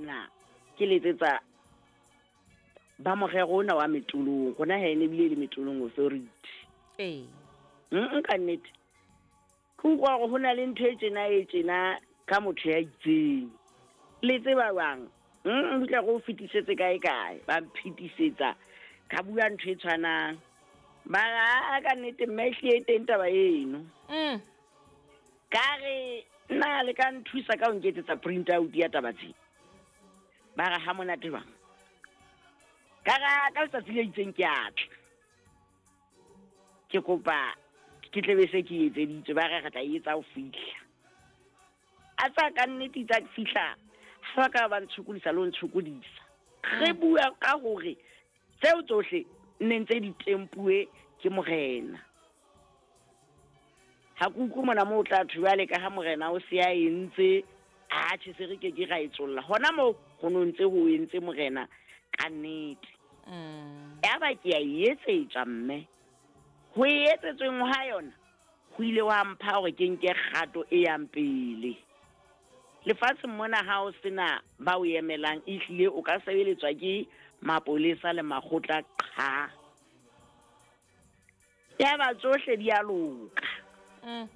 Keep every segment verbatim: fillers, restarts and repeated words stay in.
mona ke letsetsa ba morero ona wa Metolong. Rona ha ene ebile le Metolong Authority. Ee. Mm ka nnete. Ke utlwa hore ho na le ntho e tjena e tjena ka motho ya itseng. Le tseba jwang? Mm tla go fetisetse kae kae. Ba mphetisetsa ka bua ntho e tshwanang. Ba ra ka nnete mme ehlile e teng taba eno. Mm. Ka re nna le ka nthusa ka ho nketsetsa print out ya taba tse. Ba re ha monate jwang? Ka ra ka letsatsi le itseng ke a tla. Ke kopa ke tle be se ke etseditswe, ba re re tla etsa ho fihla. A tsa ka nnete tsa fihla, ha ba ka ba ntshokodisa le ho ntshokodisa. Re bua ka hore tseo tsohle nne ntse di tempuwe ke morena. Ha ke utlwe mona moo o tla thwe jwale ka ha morena o se a entse, atjhe se re ke ke ra e tsolla. Hona moo ho no ntse ho entse morena ka nnete. Mm. Yaba ke a e etsetswa mme. Ho e etsetsweng ha yona, ho ile wa mpha hore ke nke kgato e yang pele. Lefatsheng mona ha o sena ba o emelang, ehlile o ka sebeletswa ke mapolesa le makgotla qha. Yaba tsohle di a loka. Mm.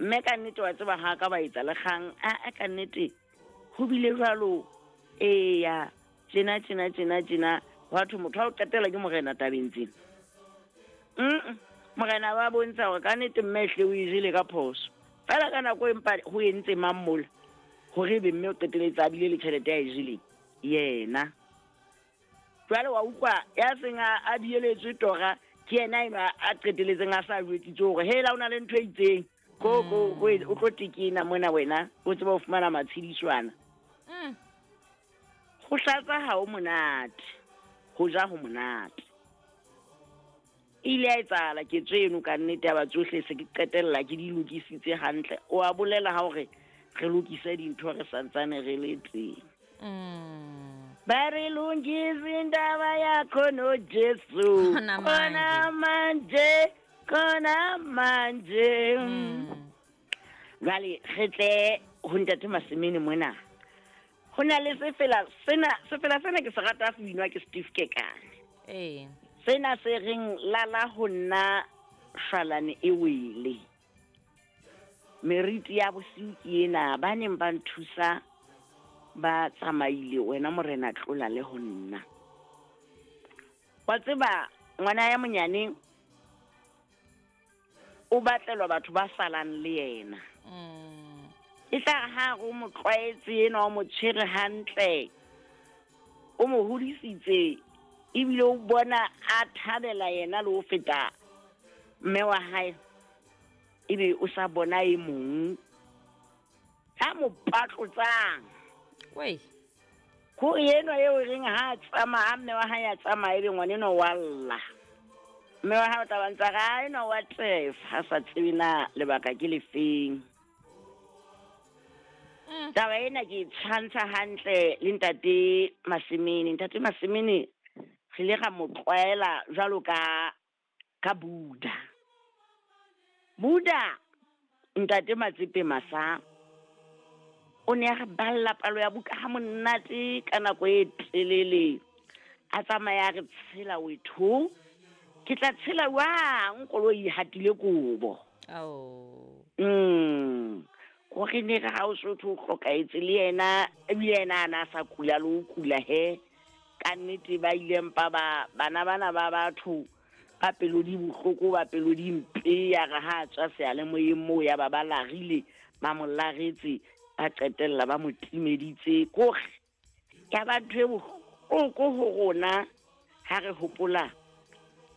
Mme ka nnete wa tseba ha ka ba etsa le kgang, a, a ka nnete ho bile jwalo, eya, tjena, tjena, tjena, tjena, hwa thwe motho wa ho qetela ke morena tabeng tsena. Mm-mm. Morena ba bontsha hore ka nnete mme ehlile o e jele ka phoso. Feela ka nako e mpa ho entse mang mola, hore ebe mme o qeteletse a bile le tjhelete ya e jeleng, yena. Jwale wa utlwa ya seng a, a dieletswe tora, ke yena enwa a qeteletseng a sa jwetsitse hore hela o na le ntho e itseng. Ko, ko, ko, o tlo tekena mona wena, o tseba ho fumana matshediswana. Mm. Ho hlatsa ha ho monate, ho ja ho monate. E ile ya etsahala ketso eno ka nnete ya ba tsohle se ke qetella ke di lokisitse hantle. O a bolela ha hore re lokise dintho re santsane re le teng. Mm. Ba re lungise indaba yakho no Jesu. Khona Khona manje, khona manje. Mm. Jwale re tle ho ntate Masemene mona. Ho na le sefela sena, sefela sena ke se rata se binwa ke Steve Kekane. Ee. Sena se reng lala ho nna shwalane e wele. Meriti ya bosiu ke ena, ba neng ba nthusa ba tsamaile, wena morena tlola le ho nna. Wa tseba ngwana ya monyane o batlelwa batho ba salang le yena. Mm. E tla re ha re o mo tlwaetse enwa, o mo tshwere hantle, o mo hodisitse, ebile o bona a thabela yena le ho feta mme wa hae, ebe o sa bona e mong ya mo patlotsang. Wei. Ko enwa eo e reng ha a tsamaya, ha mme wa hae a tsamaya, ebe ngwana enwa wa lla. Mme wa hae o tla ba ntsa re, ha enwa wa tefa, ha sa tsebe na lebaka ke lefeng. Mm. Taba ena ke e tshwantsha hantle le ntate Masemene. Ntate Masemene re ile ra mo tlwaela jwalo ka, ka Buddha. Buddha, ntate Matsepe Masa, o ne a re balla palo ya buka ha monate ka nako e telele. A tsamaya a re tshela wetho, ke tla tshela jwang koloi e hatile kobo. Ao. Mm. Hore ne re ha o so thwe o hlokahetse le yena, ebile yena a na sa kula le ho kula he. Ka nnete ba ile mpa ba, bana bana ba batho ba pelo di bohloko, ba pelo di mpe, ya re ha a tswa seyalemoyeng moo ya ba ba larile, ba mo laretse, ba qetella ba mo timeditse. Kore ya ba ntho e bohloko ho rona ha re hopola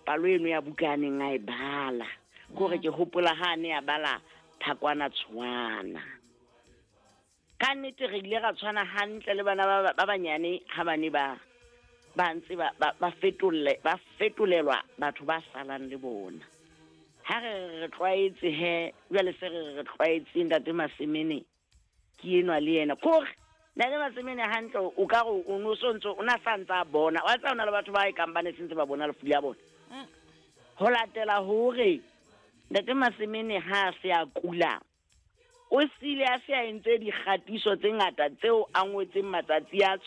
palo eno ya buka a neng a e bala. Kore ke hopola ha a ne a bala Thakwana Tshwana. Ka nnete re ile ra tshwana hantle le bana ba, ba banyane ha ba ne ba, ba ntse ba, ba, ba fetolle, ba fetolelwa batho ba salang le bona. Ha re re tlwaetse he, jwale se re re tlwaetse ntate Masemene ke enwa le yena. Kore ntate Masemene hantle o ka re o no so ntso, o na sa ntsa bona. Wa tseba ho na le batho ba ekang ba ne se ntse ba bona lefu la bona. Mm. Ho latela hore ntate Masemene ha a se a kula, o sile a se a entse dikgatiso tse ngata tseo a ngotseng matsatsi a tsona.